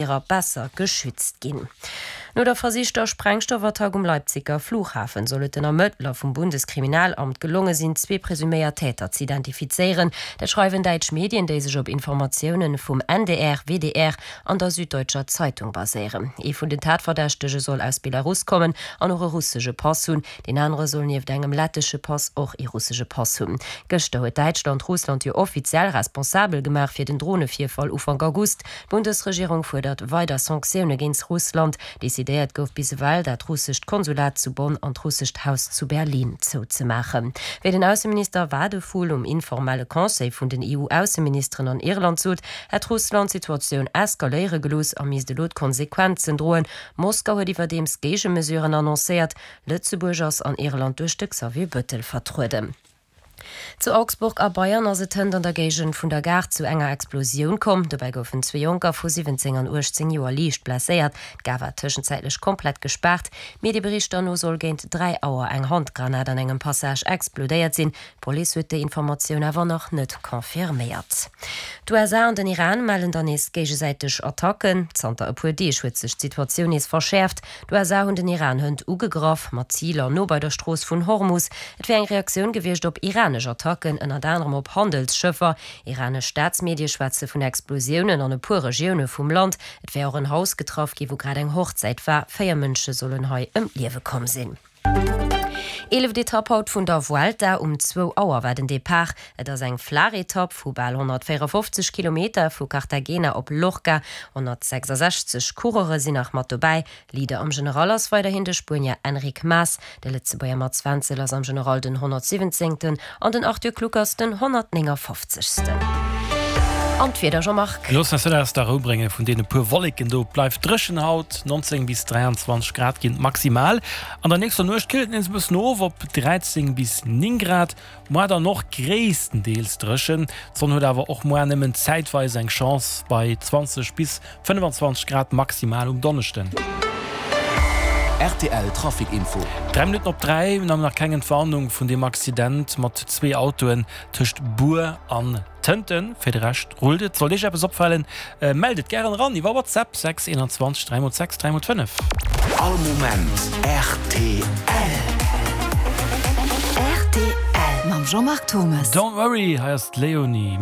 Irer besser geschützt ginn. No der versichter Sprengstoffattack um Leipziger Flughafen soll et den Ermëttler vum Bundeskriminalamt gelonge sinn, zwee presuméiert Täter ze identifizéieren. Dat schreiwen däitsch Medien, déi sech op Informatioune vum NDR, WDR an der Süddeutscher Zeitung baséieren. Ee vun den Tatverdächtege soll aus Belarus kommen an och e russesche Pass hunn. Deen anere soll nieft engem lettesche Pass och ee russesche Pass hunn. Gëschter huet Däitschland Russland jo offiziell responsabel gemaach fir den Dronevirfall Ufank August. D'Bundesregierung fuerdert weider Sanktioune géints Russland. Decidéiert gouf bis ewell, dat russescht Konsulat zu Bonn an d'russescht Haus zu Berlin zouzemaachen. Wéi den Ausseminister Wadephul um informelle Conseil vun den EU-Ausseministeren an Irland sot, hätt Russland d'Situatioun eskaléiere gelooss a misst elo d'Konsequenzen droen. Moskau huet iwwerdeems Géigemesuren annoncéiert. Lëtzebuerg ass an Irland duerch de Xavier Bettel vertrueden. Zu Augsburg a Bayern ass et hënt an der Géigend vun der Gare zu enger Explosioun komm. Dobäi goufen zwee Jonker vu 17 an 18 Joer liicht blesséiert. D'Gare war tëschenzäitlech komplett gespaart. Medieberichter no soll géint 3 Auer eng Handgranat an engem Passage explodéiert sinn. D'Police huet déi Informatioun awer nach net confirméiert. D'USA an den Iran mellen dann nees géigesäiteg Attacken. Zanter e puer Deeg huet sech d'Situatioun nees verschäerft. D'USA hunn den Iran hënt ugegraff, mat Ziler no bei der Strooss vun Hormus. Et wier eng Reaktioun gewiescht op iranesch Attacken, ënnert anerem op Handelsschëffer. Iranesch Staatsmedie schwätze vun Explosiounen an e puer Regioune vum Land. Et wär och en Haus getraff gi wou grad eng Hochzäit war. 4 Mënsche sollen hei ëm d'Liewe komm sinn. Eeleft Etapp haut vun der Vuelta. Um zwou Auer war den Depart. Et ass eng flaach Etapp vu bal 154 Kilometer vu Cartagena op Lorca. 166 Coureure sinn nach mat dobäi. Leader am General ass weiderhin de Spuenier Enric Mas. De Lëtzebuerger Mats Wenzel ass am General den 117. An den Arthur Kluckers den 159. An d'Wieder, Jean-Marc? Loossen eis net aus der Rou brénge vun deene puer Wolleken do. Et bleift dréchen haut, 19 bis 23 Grad ginn et maximal. An der nächster Nuecht killt et nees e bëssen of op 13 bis 9 Grad. Moar dann och gréisstendeels dréchen, d'Sonn huet awer och moar nëmmen zäitweis eng Chance bei 20 bis 25 Grad maximal um Donneschden. Rtl Trafic Info. 3 Minutten op 3, mir hunn nach keng Entwarnung vun deem Accident mat zwee Autoen tëscht Bur an Tënten. Fir de Rescht rullt et. Sollt Iech eppes opfalen, mellt et gären eran iwwer WhatsApp 6 21 3 x 6 3 x 5. All Moment rtl. Rtl mam Jean-Marc Thomas. Don't worry, hei ass d'Leonie.